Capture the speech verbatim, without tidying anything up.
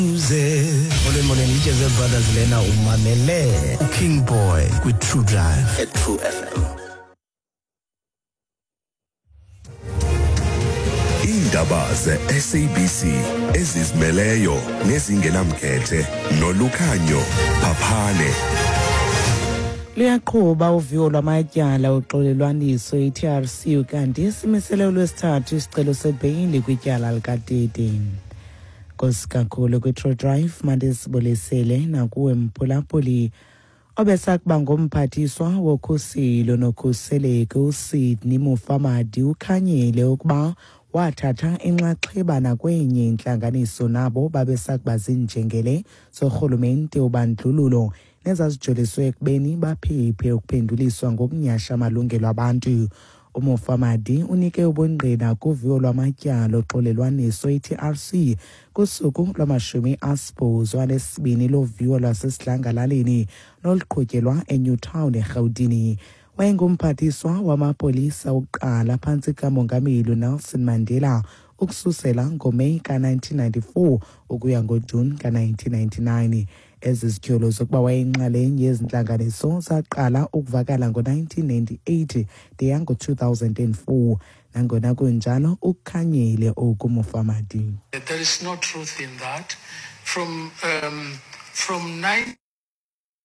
Molweni, molweni, iJazz Brothers lena. Umamele uKing Boy kwi-True Drive at True F M. Iindaba ze-S A B C ezizimeleyo nezingenamkhethe noLukhanyo Phaphane. Luyaqhuba uviwo lwamatyala oxolelwaniso i-T R C, kanti simisele ulwesithathu isicelo sebheyili kwityala likaTete. Nkosi kakhulu kwi-True Drive, mandisibulisele nakuwe mphulaphuli. Obesakuba ngumphathiswa wokhuselo nokhuseleko uSydney Mufamadi ukhanyile ukuba wathatha inxaxheba nakwenye intlanganiso nabo babesakuba ziinjengele zorhulumente wobandlululo nezazijoliswe ekubeni baphephe ukuphenduliswa ngokunyhasha amalungelo abantu. UMufamadi unike ubungqina kuviwo lwamatyala oxolelwaniso i-T R C kusuku lwamashumi asibhozo anesibini loviwo lwasesidlangalaleni noluqhutyelwa eNewtown eRhawutini. Wayengumphathiswa wamapolisa wokuqala phantsi kamongameli Nelson Mandela ukususela ngoMeyi ka-nineteen ninety-four ukuya ngoJuni ka-nineteen ninety-nine. Ezi zityholo zokuba wayeyinxalenye yezi ntlanganiso zaqala ukuvakala ngo-nineteen ninety-eight de yango-two thousand and four. Nangona kunjalo, ukukhanyile oku Mufamadi. There is no truth in that. From, um, from nine